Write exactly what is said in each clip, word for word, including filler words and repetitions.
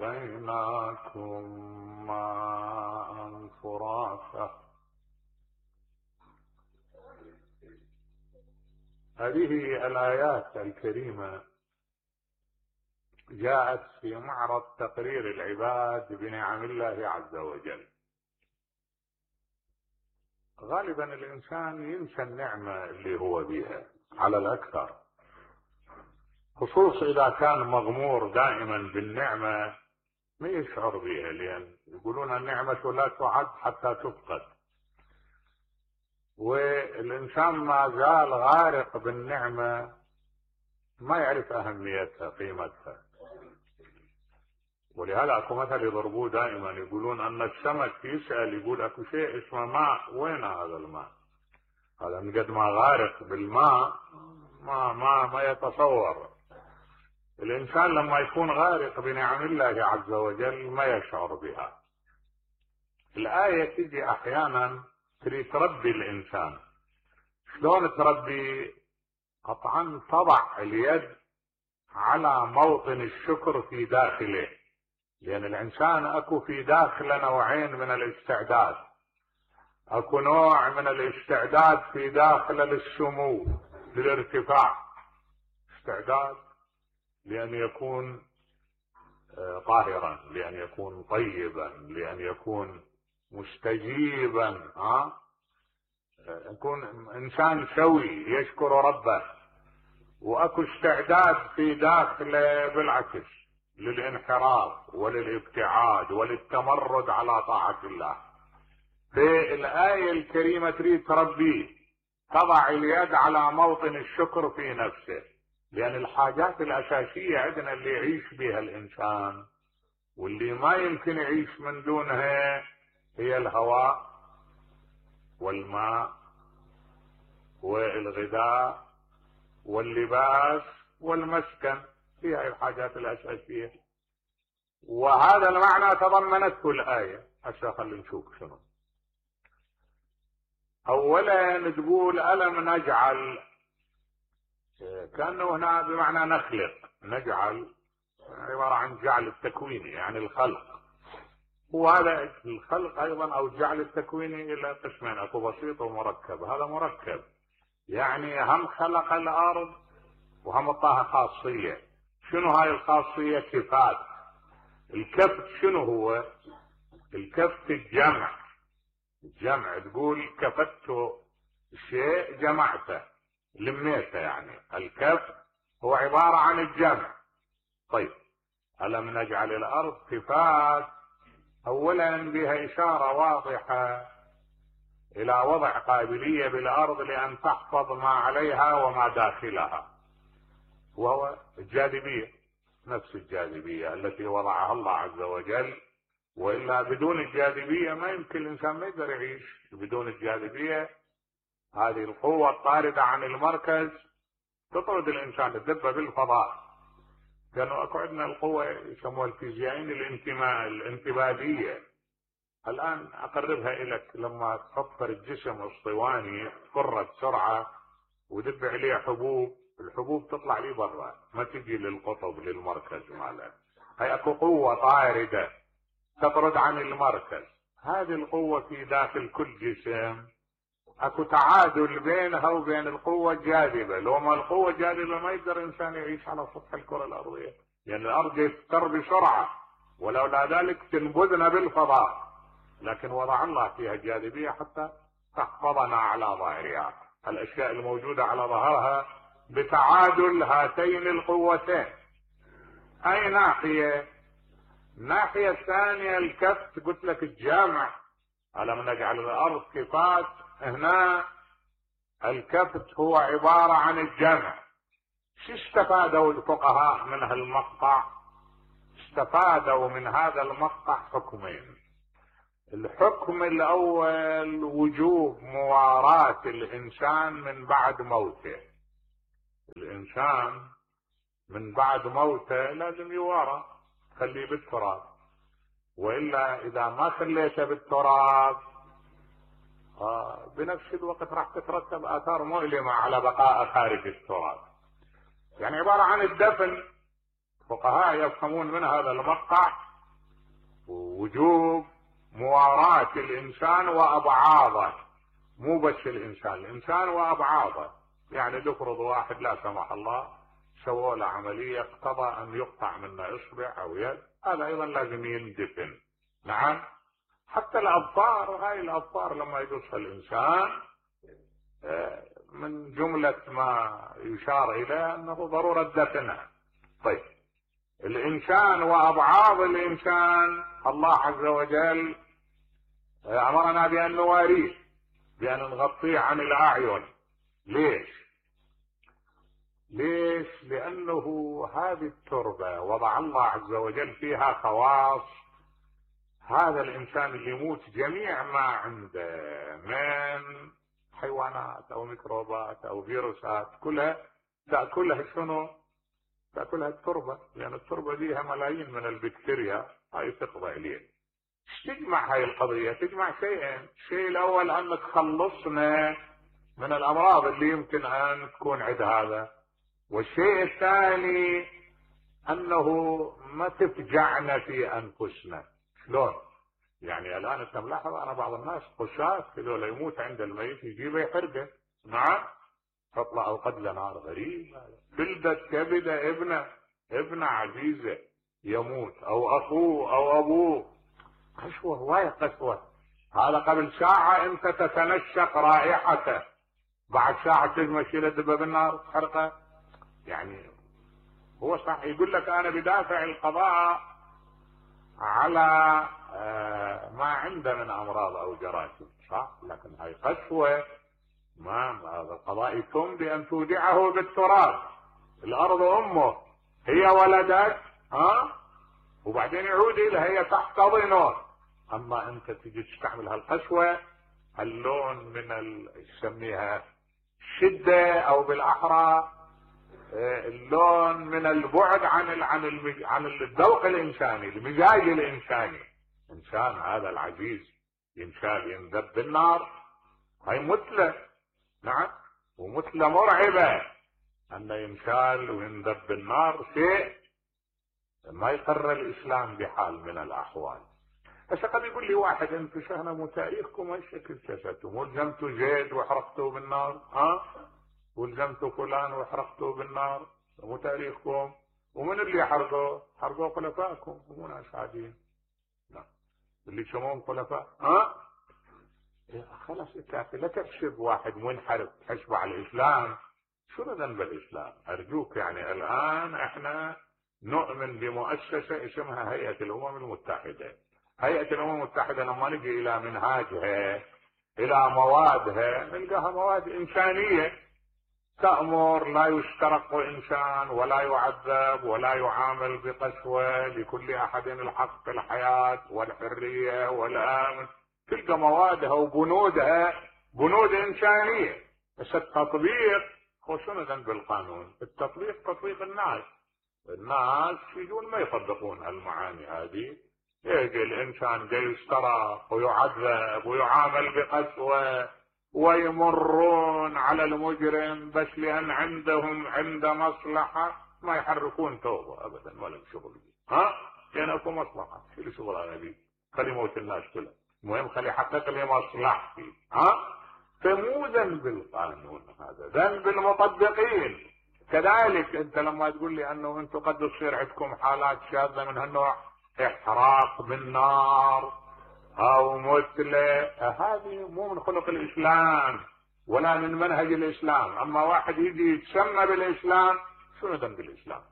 وأسقيناكم ماء فراتا. هذه الآيات الكريمة جاءت في معرض تقرير العباد بنعم الله عز وجل. غالبا الإنسان ينسى النعمة اللي هو بها على الأكثر، خصوصا إذا كان مغمور دائما بالنعمة ما يشعر بها، لأن يقولون النعمة لا تعد حتى تفقد، والإنسان ما زال غارق بالنعمة ما يعرف أهميتها قيمتها. ولهذا اكو مثل يضربوه دائما، يقولون ان السمك يسأل يقول اكو شيء اسمه ماء، وين هذا الماء؟ هذا من قد ما غارق بالماء ما ما ما يتصور. الانسان لما يكون غارق بنعم الله عز وجل ما يشعر بها. الآية تجي احيانا تريد تربي الانسان. شلون تربي؟ قطعا تضع اليد على موطن الشكر في داخله، لأن الإنسان أكو في داخله نوعين من الاستعداد. أكو نوع من الاستعداد في داخله للسمو للارتفاع، استعداد لأن يكون طاهرا، لأن يكون طيبا، لأن يكون مستجيبا، ها يكون إنسان سوي يشكر ربه. وأكو استعداد في داخله بالعكس للانحراف وللابتعاد وللتمرد على طاعة الله. في الآية الكريمة تريد تربيه، تضع اليد على موطن الشكر في نفسه، لأن الحاجات الأساسية عندنا اللي يعيش بها الإنسان واللي ما يمكن يعيش من دونها هي الهواء والماء والغذاء واللباس والمسكن، هي الحاجات الأساسية. وهذا المعنى تضمنته الآية. هسه خلينا نشوف شنو. أولا تقول ألم نجعل، كأنه هنا بمعنى نخلق، نجعل عبارة عن جعل التكويني يعني الخلق. وهذا الخلق أيضا أو جعل التكويني إلى قسمين، أكو بسيط ومركب. هذا مركب يعني هم خلق الأرض وهم اعطاها خاصية. شنو هاي الخاصية؟ كفات. الكفت شنو هو؟ الكفت الجمع. الجمع تقول كفت شيء جمعته لميته، يعني الكفت هو عبارة عن الجمع. طيب ألم نجعل الأرض كفات، أولا بها إشارة واضحة إلى وضع قابلية بالأرض لأن تحفظ ما عليها وما داخلها، وهو الجاذبية، نفس الجاذبية التي وضعها الله عز وجل. وإلا بدون الجاذبية ما يمكن الإنسان ما يقدر يعيش. بدون الجاذبية هذه القوة الطاردة عن المركز تطرد الإنسان، تدب بالفضاء. كانوا أكو عندنا القوة يسموها الفيزيائيين الانتماء الانتبادية. الآن أقربها إليك، لما تحفر الجسم اسطواني كرة سرعة ودب عليه حبوب، الحبوب تطلع لي برا ما تجي للقطب للمركز ماله. هي اكو قوة طاردة تطرد عن المركز. هذه القوة في داخل كل جسم اكو تعادل بينها وبين القوة الجاذبة. لو ما القوة الجاذبة ما يقدر انسان يعيش على سطح الكرة الارضية، لان يعني الارض تستر بسرعة، ولولا ذلك تنبذنا بالفضاء. لكن وضع الله فيها الجاذبية حتى تحفظنا على ظاهرها، الاشياء الموجودة على ظهرها بتعادل هاتين القوتين. اي ناحية؟ الناحية الثانية الكفت، قلت لك الجامع، ألم نجعل الأرض كفات. هنا الكفت هو عبارة عن الجمع. شو استفادوا الفقهاء من هالمقطع؟ استفادوا من هذا المقطع حكمين. الحكم الأول وجوب مواراة الإنسان من بعد موته. الإنسان من بعد موته لازم يوارى، خليه بالتراب، وإلا إذا ما خليته بالتراب آه بنفس الوقت راح تترتب آثار مؤلمة على بقاء خارج التراب. يعني عبارة عن الدفن. فقهاء يفهمون من هذا المقطع ووجوب مواراة الإنسان وأبعاضه، مو بس الإنسان، الإنسان وأبعاضه. يعني تفرض واحد لا سمح الله سووا له عملية اقتضى أن يقطع منه إصبع أو يد، هذا أيضا لازم يندفن. نعم. حتى الأظفار، هاي الأظفار لما يقصها الإنسان من جملة ما يشار إليه أنه ضرورة دفنها. طيب الإنسان وأبعاض الإنسان الله عز وجل أمرنا بأن نواريه، بأن نغطيه عن الأعين. ليش؟ ليش؟ لأنه هذه التربة وضع الله عز وجل فيها خواص. هذا الإنسان اللي يموت جميع ما عنده من حيوانات أو ميكروبات أو فيروسات كلها تأكلها شنو؟ تأكلها التربة، لأن يعني التربة فيها ملايين من البكتيريا، هاي تقضي عليه. تجمع هاي القضية، تجمع شيئين. الشيء الأول أنك تخلصنا من الأمراض اللي يمكن أن تكون عند هذا، والشيء الثاني أنه ما تفجعنا في أنفسنا. شلون؟ يعني الآن أنت ملاحظ أنا بعض الناس خشاش هذول يموت عند الميت يجيبه يحرقه. نعم. تطلع قد نار غريب، بلدت كبده ابنه ابنه عزيزه يموت او اخوه او ابوه، قسوه وايد قسوه. هذا قبل ساعه انت تتنشق رائحته، بعد ساعه تجمع شيله دبه بالنار تحرقه. يعني هو صح يقول لك انا بدافع القضاء على ما عنده من امراض او جراثيم، صح، لكن هاي قسوه. ما هذا القضاء يتم بأن تودعه بالتراب. الأرض أمه، هي ولدت ها وبعدين يعود إليها، هي تحتضنه. أما أنت تجي تستعمل هالقسوة، اللون من ال... يسميها شدة، أو بالأحرى اللون من البعد عن ال... عن المج... عن الذوق الإنساني، المزاج الإنساني. إنسان هذا العزيز ينشال ينذب بالنار، هاي مثله. نعم. ومثل مرعبة أن ينشال وينذب بالنار، شيء ما يقر الإسلام بحال من الأحوال. هسه قد يقول لي واحد أنتم شهنا مو تاريخكم هالشكل كشفتم، ولزمتوا زيد وحرقتوه بالنار، ها؟ ولزمتوا فلان وحرقتوه بالنار، مو تاريخكم. ومن اللي حرقوه؟ حرقوه خلفائكم، مو ناس عاديين. نعم. اللي يسمون خلفاء، ها؟ خلاص انت لا تحسب واحد منحرف تحسبه على الاسلام. شنو ذنب الاسلام؟ ارجوك. يعني الان احنا نؤمن بمؤسسه اسمها هيئه الامم المتحده. هيئه الامم المتحده لما نجي الى منهاجها الى موادها نلقاها مواد انسانيه، تأمر لا يسترق انسان ولا يعذب ولا يعامل بقسوه، لكل احد الحق في الحياه والحريه والامن. تلقى موادها وبنودها بنود إنسانية. بس التطبيق هو شنو ذنب القانون؟ التطبيق تطبيق الناس. الناس يجون ما يطبقون هالمعاني هذه، يجي الإنسان جاي يسترق ويعذب ويعامل بقسوة، ويمرون على المجرم بس لأن عندهم عند مصلحة ما يحركون توبة أبدا ولا شغل. ها؟ يعني أكو مصلحة، شو شغل أنا بيه؟ خلي موت الناس كلها، المهم خلي يحقق لي مصلحتي. ها؟ فمو ذنب القانون، هذا ذنب المطبقين. كذلك انت لما تقول لي انه انتم قد تصير عندكم حالات شاذة من هالنوع، احتراق بالنار او مثله، هذه مو من خلق الاسلام ولا من منهج الاسلام. اما واحد يجي يتسمى بالاسلام، شنو ذنب الاسلام؟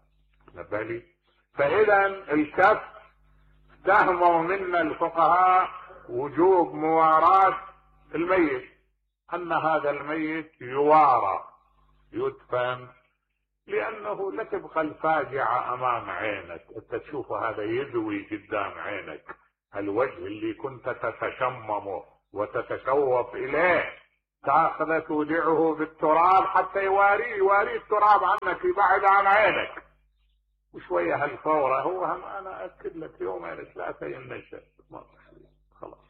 نبه لي. فاذا الكف فهموا منا الفقهاء وجوب مواراة الميت، ان هذا الميت يوارى يدفن، لانه لا تبقى الفاجعة امام عينك، انت تشوف هذا يذوي قدام عينك، الوجه اللي كنت تتشممه وتتشوف اليه تاخذه تودعه بالتراب حتى يواريه يواري التراب عنك يبعد عن عينك. وشوية هالفورة هو هم انا اكد لك يومين ثلاثة ينشأ خلاص.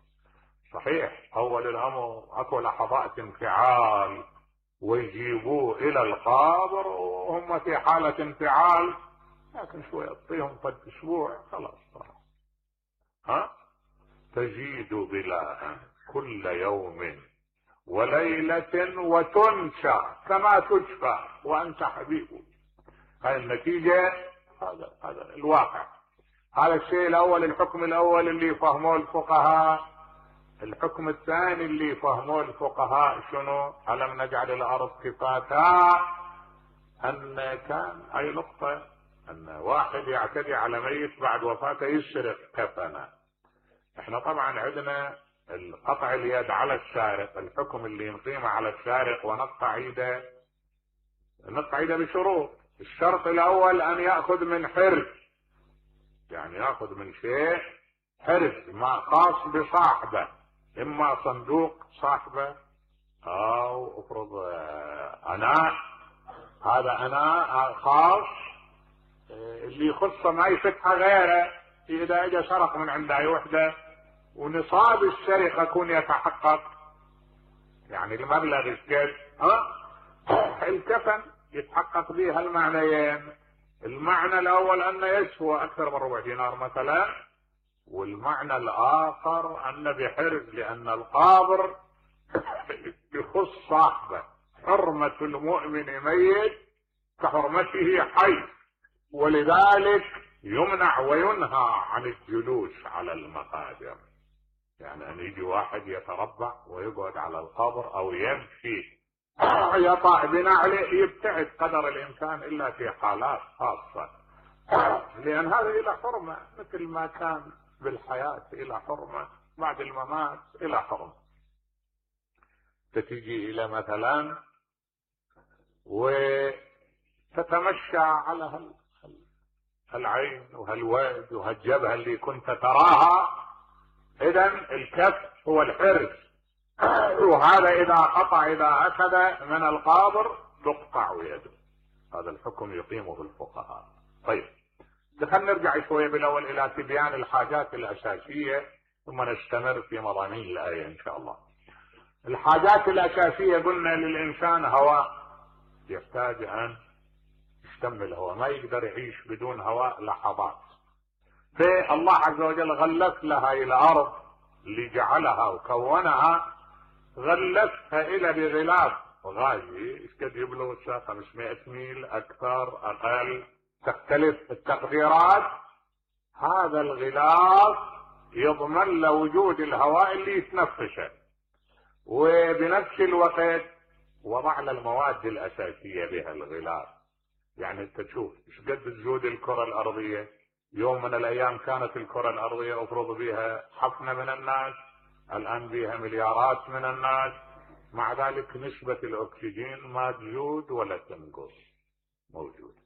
صحيح اول الامر اكو لحظات انفعال ويجيبوه الى القبر وهم في حالة انفعال، لكن شوية اعطيهم قد اسبوع خلاص. ها تزيد بلاء كل يوم وليلة وتنشى كما تشفى وانت حبيب. هاي النتيجة، هذا هذا الواقع. هذا الشيء الاول، الحكم الاول اللي فهموه الفقهاء. الحكم الثاني اللي فهموه الفقهاء شنو؟ ألم نجعل الارض كفاتا، ان كان اي نقطة ان واحد يعتدي على ميت بعد وفاته يسرق كفنه. احنا طبعا عندنا القطع اليد على السارق، الحكم اللي نقيمه على السارق ونقطع يده، نقطع يده بشروط. الشرط الاول ان يأخذ من حرز، يعني يأخذ من شيء حرز ما خاص بصاحبه، اما صندوق صاحبه او افرض اناء، هذا اناء خاص اللي يخصه ما يفتحه غيره. اذا اجى سرق من عند اي وحده ونصاب السرقه يكون يتحقق، يعني المبلغ الكل، ها الكفن يتحقق به المعنيين. المعنى الاول انه يسوى اكثر من ربع دينار مثلا، والمعنى الاخر ان بحرز، لان القابر يخص صاحبه. حرمة المؤمن ميت كحرمته حي، ولذلك يمنع وينهى عن الجلوس على المقابر. يعني ان يجي واحد يتربع ويقعد على القبر او يمشي يطع بنعله، يبتعد قدر الامكان الا في حالات خاصة، لان هذا الى حرمة، مثل ما كان بالحياة الى حرمة بعد الممات الى حرمة. تتجي الى مثلا وتتمشى على هال العين وهالواد وهالجبهة اللي كنت تراها، اذا الكف هو الحرز، وهذا اذا قطع اذا اخذ من القابر تقطع يده. هذا الحكم يقيمه الفقهاء. طيب دخلنا نرجع شوية بالاول الى تبيان الحاجات الاساسية ثم نستمر في مضامين الاية ان شاء الله. الحاجات الاساسية قلنا للانسان هواء، يحتاج ان يشتم الهواء، ما يقدر يعيش بدون هواء لحظات. فالله عز وجل غلف لها الارض اللي جعلها وكونها، غلفها الى بغلاف غازي، ايش قد يبلغ الساعة خمسمائة ميل، اكثر اقل تختلف التقديرات. هذا الغلاف يضمن له وجود الهواء اللي يتنفسه، وبنفس الوقت وضع له المواد الاساسية بها الغلاف. يعني انت تشوف ايش قد تزود الكرة الارضية. يوم من الايام كانت الكرة الارضية افرض بها حفنة من الناس، الان بها مليارات من الناس، مع ذلك نسبة الاكسجين ما تزود ولا تنقص، موجودة.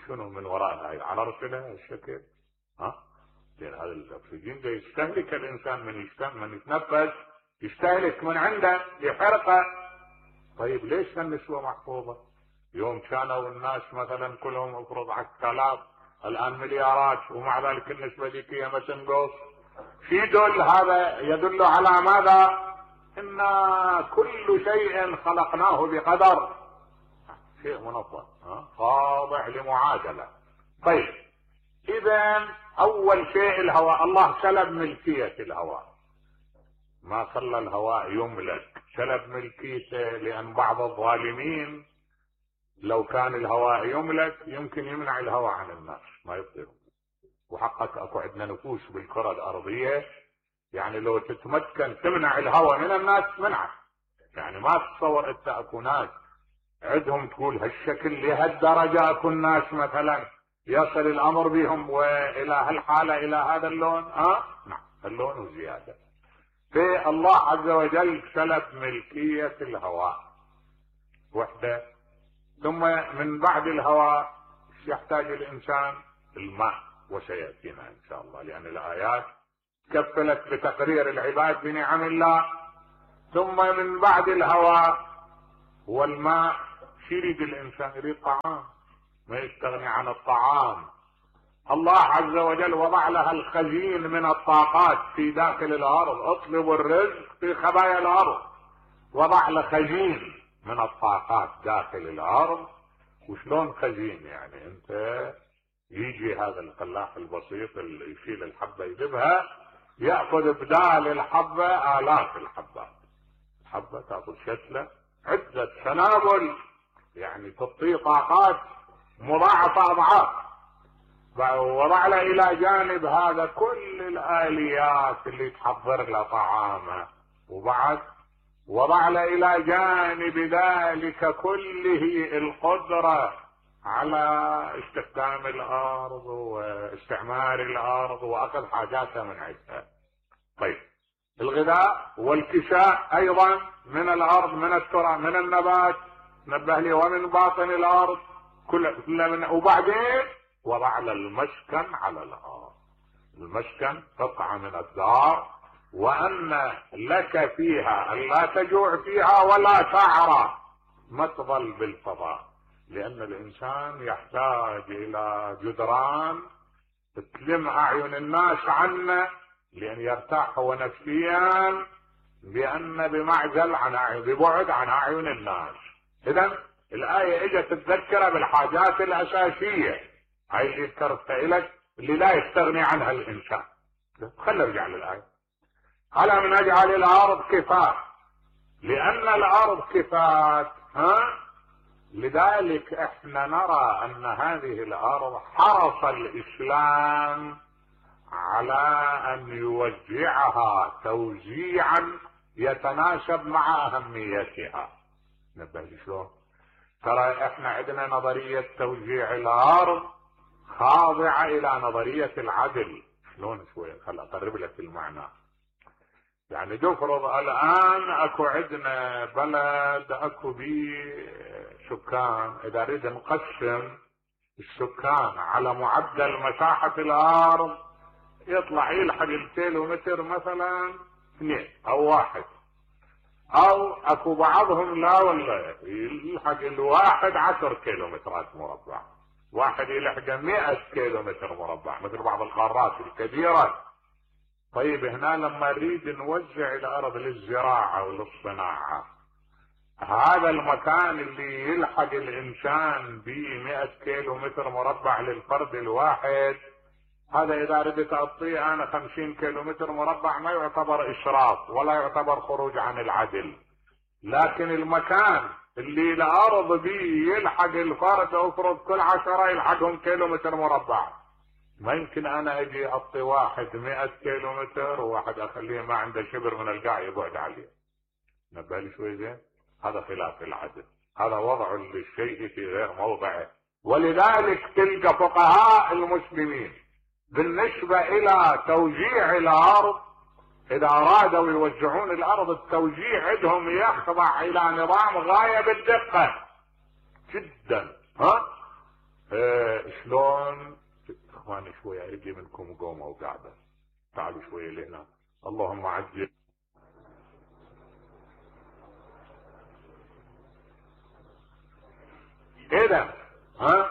شنو من وراء هاي؟ على رسلها الشكل، ها؟ لان هذا الاكسجين ده يستهلك الانسان، من يشتم من يتنفس يستهلك من عنده يحرقه. طيب ليش هالنسبة محفوظة؟ يوم كانوا الناس مثلا كلهم افرض عشرة آلاف، الان مليارات، ومع ذلك النسبة ذيك ما تنقص. في يدل هذا يدل على ماذا؟ ان كل شيء خلقناه بقدر، شيء منظم خاضع لمعادلة. طيب اذا اول شيء الهواء، الله سلب ملكية الهواء، ما خلى الهواء يملك، سلب ملكيته. لان بعض الظالمين لو كان الهواء يملك يمكن يمنع الهواء عن الناس ما يطير. وحقك اكو عندنا نفوس بالكرة الارضية، يعني لو تتمكن تمنع الهواء من الناس منعه. يعني ما تتصور انت اكو ناس عندهم تقول هالشكل لهالدرجة، اكو الناس مثلا يصل الامر بهم والى هالحالة الى هذا اللون، اه نعم اللون وزيادة. فالله عز وجل سلب ملكية الهواء وحده. ثم من بعد الهواء يحتاج الانسان الماء، وسيأتينا ان شاء الله، لان الايات كفلت بتقرير العباد بنعم الله. ثم من بعد الهواء والماء يريد الانسان، يريد طعام، ما يستغني عن الطعام. الله عز وجل وضع لها الخزين من الطاقات في داخل الارض، اطلبوا الرزق في خبايا الارض. وضع له خزين من الطاقات داخل الارض. وشلون خزين؟ يعني انت يجي هذا الفلاح البسيط اللي يشيل الحبة يذبها يأخذ بدال الحبة آلاف الحبات. الحبة تأخذ شتلة عدة سنابل يعني تعطي طاقات مضاعفة أضعاف. وضع له إلى جانب هذا كل الآليات اللي تحضر له طعامه، وبعد وضع له إلى جانب ذلك كله القدرة على استخدام الأرض واستعمار الأرض وأخذ حاجاتها من عندها. طيب الغذاء والكساء أيضا من الأرض، من التراب، من النبات، نبه لي، ومن باطن الأرض كل من. وبعدين وضع له المسكن على الأرض. المسكن قطعة من الدار، وأن لك فيها أن لا تجوع فيها ولا تعرى، ما تظل بالفضاء، لأن الإنسان يحتاج إلى جدران تلم أعين الناس عنه لأن يرتاح هو نفسيا، بأن بمعزل عن أعين، ببعد عن أعين الناس. إذن الآية اجت تتذكر بالحاجات الأساسية هاي اللي ذكرتها لك اللي لا يستغني عنها الإنسان. خلينا نرجع للآية. ألم نجعل الأرض كفاة، لأن الأرض كفاة ها لذلك احنا نرى أن هذه الأرض حرص الإسلام على أن يوزعها توزيعا يتناسب مع أهميتها. نبه شلون؟ ترى احنا عندنا نظرية توزيع الأرض خاضعة إلى نظرية العدل. شلون شوية؟ خل أقرب لك المعنى. يعني تفرض الآن أكو عندنا بلد أكو بيه سكان، إذا نريد نقسم السكان على معدل مساحة الأرض يطلع يلحق الكيلومتر مثلا اثنين أو واحد، أو أكو بعضهم لا والله يلحق الواحد عشر كيلومترات مربع، واحد يلحق مئة كيلومتر مربع مثل بعض القارات الكبيرة. طيب هنا لما نريد نوزع الأرض للزراعة وللصناعة، هذا المكان اللي يلحق الإنسان به مئة كيلومتر مربع للفرد الواحد، هذا إذا ردت أعطيه أنا خمسين كيلومتر مربع ما يعتبر إسراف ولا يعتبر خروج عن العدل. لكن المكان اللي الأرض به يلحق الفرد أفرض كل عشرة يلحقهم كيلومتر مربع، ما يمكن أنا أجي أعطي واحد مئة كيلومتر وواحد أخليه ما عنده شبر من القاع يبعد عليه. نبالي شوي زين، هذا خلاف العدل، هذا وضع للشيء في غير موضعه. ولذلك تلقى فقهاء المسلمين بالنسبة إلى توزيع الأرض إذا أرادوا يوزعون الأرض التوزيع عندهم يخضع إلى نظام غاية بالدقة جدا. ها إيه شلون؟ اخواني شوية اريد منكم قومة وقاعدة، تعالوا شوية لهنا. اللهم عجل. اذا ها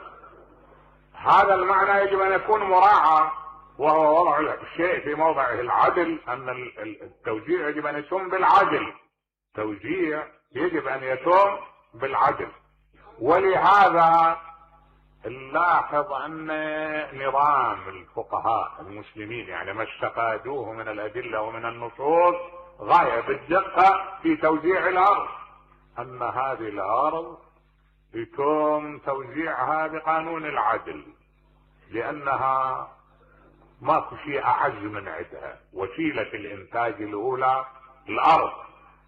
هذا المعنى يجب ان يكون مراعى، وهو وضع الشيء في موضعه العدل، ان التوزيع يجب ان يتم بالعدل، توزيع يجب ان يتم بالعدل. ولهذا نلاحظ ان نظام الفقهاء المسلمين يعني ما استفادوه من الادله ومن النصوص غايه بالدقه في توزيع الارض، ان هذه الارض يتم توزيعها بقانون العدل، لانها ماكو شيء اعز من عندها. وسيله الانتاج الاولى الارض،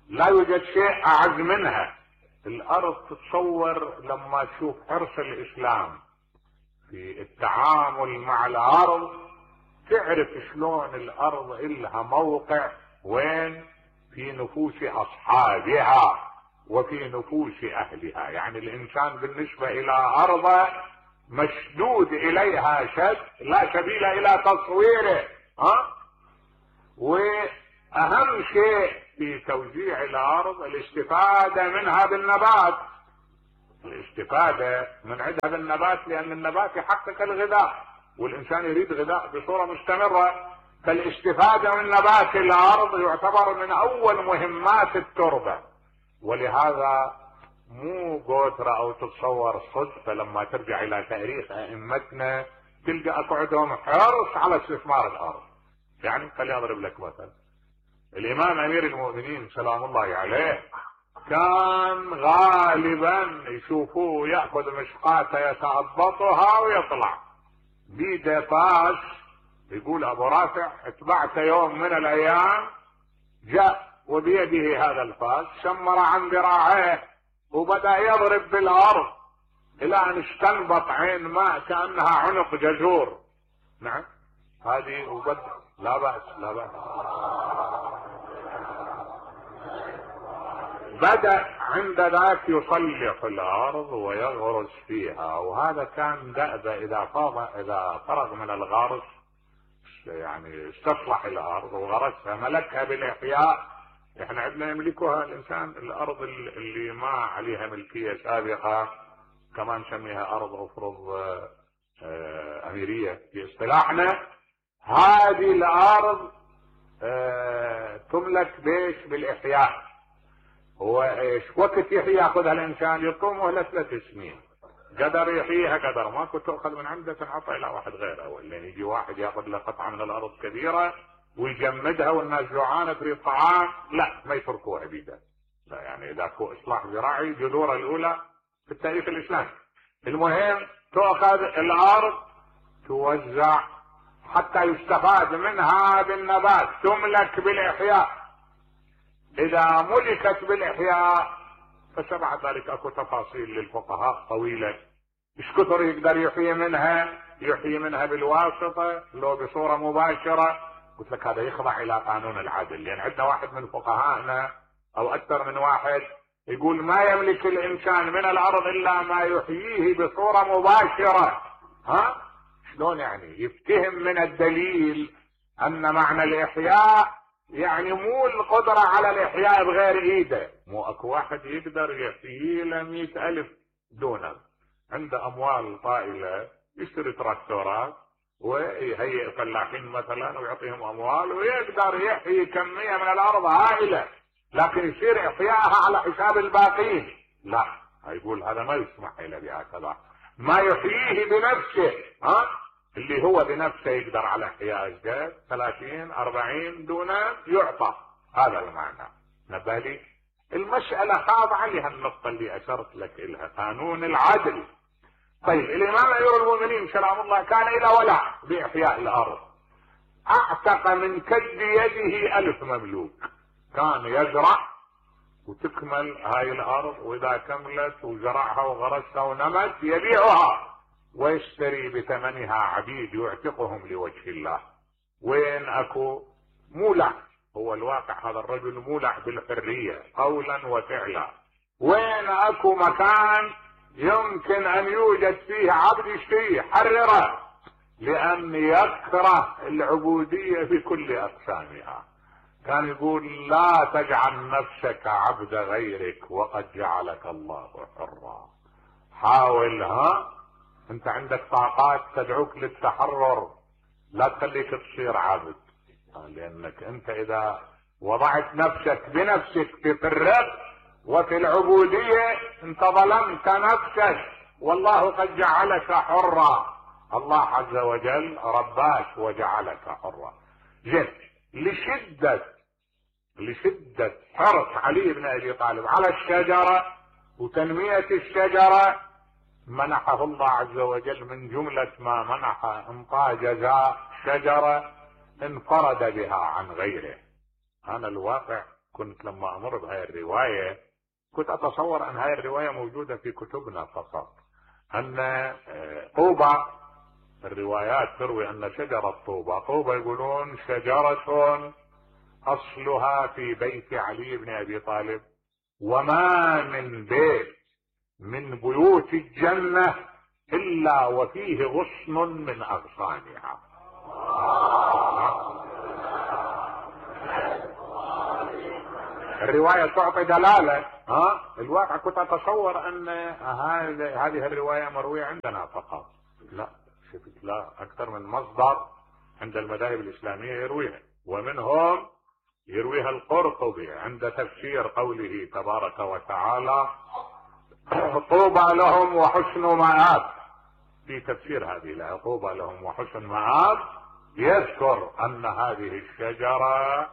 لا يوجد شيء اعز منها. الارض تتصور لما تشوف حرص الاسلام في التعامل مع الارض تعرف شلون الارض إلها موقع وين في نفوس اصحابها وفي نفوس اهلها. يعني الانسان بالنسبة الى ارضه مشدود اليها شد لا سبيل الى تصويره. ها واهم شيء في توزيع الارض الاستفادة منها بالنبات، الاستفادة من عندها بالنبات، لان النبات يحقق الغذاء والانسان يريد غذاء بصورة مستمرة. فالاستفادة من نبات الارض يعتبر من اول مهمات التربة. ولهذا مو قوترة او تتصور صدفة لما ترجع الى تاريخ ائمتنا تلقى اكو عندهم حرص على استثمار الارض. يعني خليني اضرب لك مثل. الامام امير المؤمنين سلام الله عليه كان غالبا يشوفوه ياخذ مشقاته يتأبطها ويطلع بيده فاس. يقول ابو رافع اتبعت يوم من الايام جاء وبيده هذا الفاس شمر عن ذراعيه وبدأ يضرب بالارض الى ان استنبط عين ماء كأنها عنق جزور. نعم هذه وبدأ لا بأس لا بأس. بدأ عند ذاك يصلح الارض ويغرس فيها، وهذا كان دأب اذا فاض اذا فرغ من الغرس يعني استصلح الارض وغرسها ملكها بالاحياء. احنا عندنا يملكها الانسان الارض اللي ما عليها ملكية سابقة كما نسميها ارض افرض اه اميرية في اصطلاحنا. هذه الارض اه تملك بيش بالاحياء. هو ايش وقت يحيي ياخذها الانسان؟ يطوم مهلة ثلاث سنين. قدر يحييها قدر ماكو تاخذ من عنده تنعطى الى واحد غيره، ولا يجي واحد ياخذ له قطعه من الارض كبيره ويجمدها والناس جوعانه تريد طعام، لا ما يتركوها بيده. لا يعني اذا هو اصلاح زراعي جذورها الاولى في التاريخ الاسلامي. المهم تؤخذ الارض توزع حتى يستفاد منها بالنبات، تملك بالاحياء. اذا ملكت بالاحياء فسبع ذلك اكو تفاصيل للفقهاء طويلة. ايش كثر يقدر يحيي منها؟ يحيي منها بالواسطة لو بصورة مباشرة. قلت لك هذا يخضع الى قانون العدل، لان عندنا واحد من فقهائنا او اكثر من واحد يقول ما يملك الانسان من الارض الا ما يحييه بصورة مباشرة. ها شلون يعني؟ يفتهم من الدليل ان معنى الاحياء يعني مو القدرة على الاحياء بغير ايده. مو اكو واحد يقدر يحيي له مئة الف دونم، عنده اموال طائلة يشتري تراكتورات ويهيئ فلاحين مثلا ويعطيهم اموال ويقدر يحيي كمية من الارض هائلة، لكن يصير احيائها على حساب الباقين. لا يقول هذا ما يسمح له بهكذا. ما يحييه بنفسه ها اللي هو بنفسه يقدر على احياء الجد ثلاثين أربعين دونم يعطى. هذا المعنى. نبالي المسألة خاضعة لها النقطة اللي اشرت لك الها قانون العدل. طيب الامام امير المؤمنين سلام الله كان الى ولع باحياء الارض. اعتق من كد يده الف مملوك. كان يزرع وتكمل هاي الارض، واذا كملت وزرعها وغرسها ونمت يبيعها ويشتري بثمنها عبيد يعتقهم لوجه الله. وين اكو مولع، هو الواقع هذا الرجل مولع بالحرية قولا وفعلا. وين اكو مكان يمكن ان يوجد فيه عبد يشتريه حرره، لان يكره العبودية بكل اقسامها. كان يقول لا تجعل نفسك عبد غيرك وقد جعلك الله حرا. حاول ها انت عندك طاقات تدعوك للتحرر، لا تخليك تصير عبد، لانك انت اذا وضعت نفسك بنفسك في الرق وفي العبودية انت ظلمت نفسك، والله قد جعلك حرا. الله عز وجل رباك وجعلك حرا. زين لشدة لشدة حرص علي بن ابي طالب على الشجرة وتنمية الشجرة منحه الله عز وجل من جملة ما منح انطى جزاء شجرة انفرد بها عن غيره. انا الواقع كنت لما امر بهاي الرواية كنت اتصور ان هاي الرواية موجودة في كتبنا فقط، ان طوبى الروايات تروي ان شجرة طوبى طوبى يقولون شجرة اصلها في بيت علي بن ابي طالب، وما من بيت من بيوت الجنة الا وفيه غصن من اغصانها. الرواية تعطي دلالة. ها الواقع كنت اتصور ان هذه الرواية مروية عندنا فقط، لا شفت لا اكثر من مصدر عند المذاهب الاسلامية يرويها، ومنهم يرويها القرطبي عند تفسير قوله تبارك وتعالى طوبى لهم وحسن مآب. في تفسير هذه الآية طوبى لهم وحسن مآب يذكر أن هذه الشجرة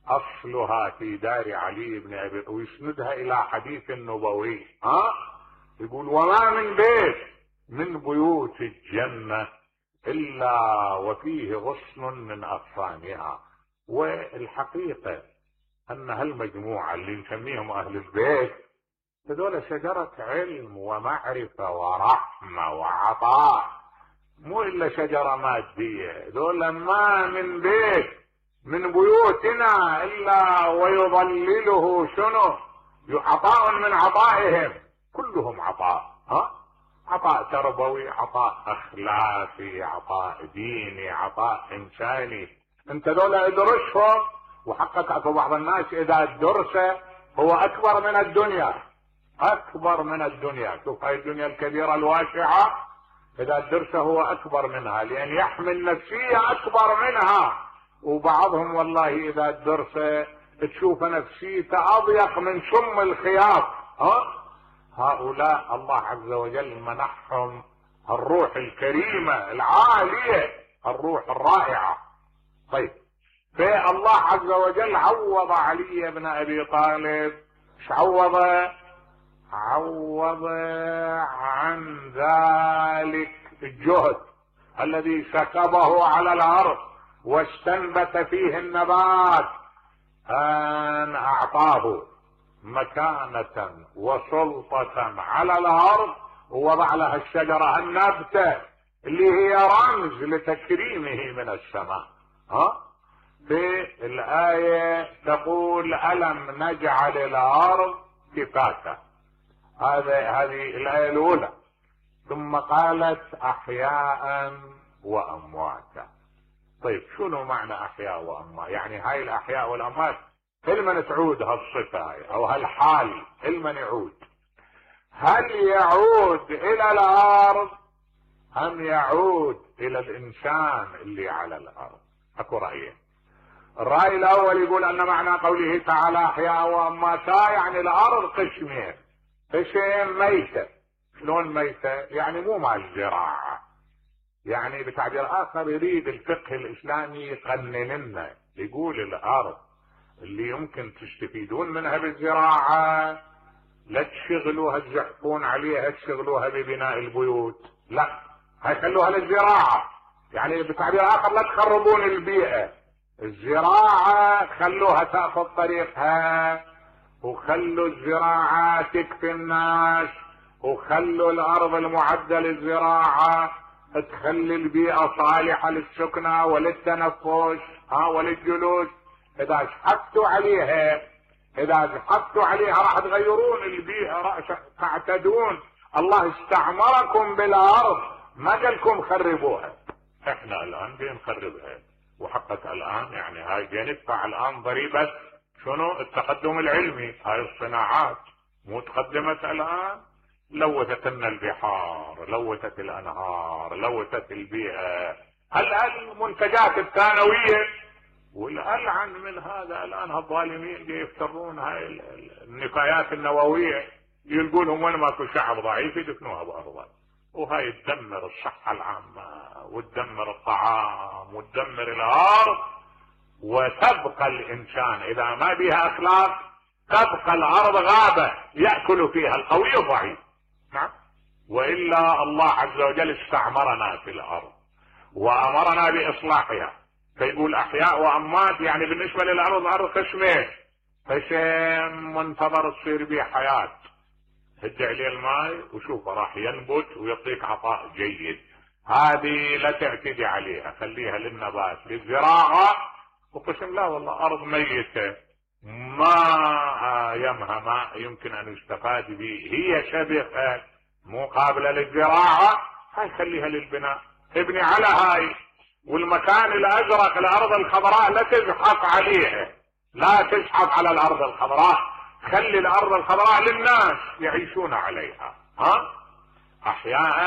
أصلها في دار علي بن أبي طالب، ويسندها إلى حديث نبوي. ها يقول وما من بيت من بيوت الجنة إلا وفيه غصن من أغصانها. والحقيقة أن هالمجموعة اللي نسميهم أهل البيت هذول شجرة علم ومعرفة ورحمة وعطاء، مو إلا شجرة مادية. هذول ما من بيت من بيوتنا إلا ويظلله شنو؟ عطاء من عطائهم، كلهم عطاء. ها عطاء تربوي، عطاء أخلاقي، عطاء ديني، عطاء إنساني. انت دولة ادرسهم، وحقك اكو بعض الناس اذا الدرس هو اكبر من الدنيا، اكبر من الدنيا. شوف هاي الدنيا الكبيرة الواسعة اذا الدرس هو اكبر منها، لان يحمل نفسية اكبر منها. وبعضهم والله اذا الدرس تشوف نفسيته اضيق من سم الخياط. ها هؤلاء الله عز وجل منحهم الروح الكريمة العالية، الروح الرائعة. طيب فالله عز وجل عوض علي بن ابي طالب، ايش عوض؟ عوض عن ذلك الجهد الذي سكبه على الارض واستنبت فيه النبات، ان اعطاه مكانة وسلطة على الارض، ووضع لها الشجرة النبتة اللي هي رمز لتكريمه من السماء. ها في الآية تقول ألم نجعل الأرض كفاتا، هذا هذه الآية الأولى. ثم قالت أحياء وأمواتا. طيب شنو معنى أحياء وأموات؟ يعني هاي الأحياء والأموات لمن تعود هالصفة أو هالحال؟ لمن يعود؟ هل يعود إلى الأرض أم يعود إلى الإنسان اللي على الأرض؟ أكو رأيين. الرأي الأول يقول أن معنى قوله تعالى أحياء وأمواتا يعني الأرض قسمين، قسم ميتة. شلون ميتة؟ يعني مو مال زراعة، يعني بتعبير آخر يريد الفقه الإسلامي يقنن لنا، يقول الأرض اللي يمكن تستفيدون منها بالزراعة لا تشغلوها تزحفون عليها تشغلوها ببناء البيوت، لا هاي خلوها للزراعة. يعني بتعبير آخر لا تخربون البيئة، الزراعة خلوها تأخذ طريقها، وخلوا الزراعة تكفي الناس، وخلوا الأرض المعدة للزراعة تخلي البيئة صالحة للسكنة وللتنفس ها وللجلوس. إذا زحفتوا عليها إذا زحفتوا عليها راح تغيرون البيئة، راح تعتدون. الله استعمركم بالأرض، ما قالكم خربوها. احنا الآن بنخربها، وحقت الآن يعني هاي بندفع الآن ضريبة شنو؟ التقدم العلمي. هاي الصناعات مو تقدمت الآن، لوثت لنا البحار، لوثت الأنهار، لوثت البيئة. المنتجات الثانوية والألعن من هذا الآن هالظالمين يفترون هاي النفايات النووية، يلقونهم وين ماكو شعب ضعيف يدفنوها بأرضه، وهاي تدمر الصحة العامة وتدمر الطعام وتدمر الأرض. وتبقى الإنسان إذا ما بها أخلاق تبقى الأرض غابة يأكل فيها القوي الضعيف. نعم. وإلا الله عز وجل استعمرنا في الأرض وأمرنا بإصلاحها، فيقول أحياء وأموات يعني بالنسبة للأرض الأرض قسمين، قسم منتظر تصير به حياة، هد عليه الماء وشوفه راح ينبت ويعطيك عطاء جيد، هذه لا تعتدي عليها، خليها للنبات للزراعة. وقسم لا والله أرض ميتة ما يمها ما يمكن أن يستفاد به، هي شبكة مو قابلة للزراعة، هاي خليها للبناء، ابني على هاي. والمكان الأزرق الأرض الخضراء لا تزحف عليها، لا تزحف على الأرض الخضراء، خلي الأرض الخضراء للناس يعيشون عليها. ها أحياء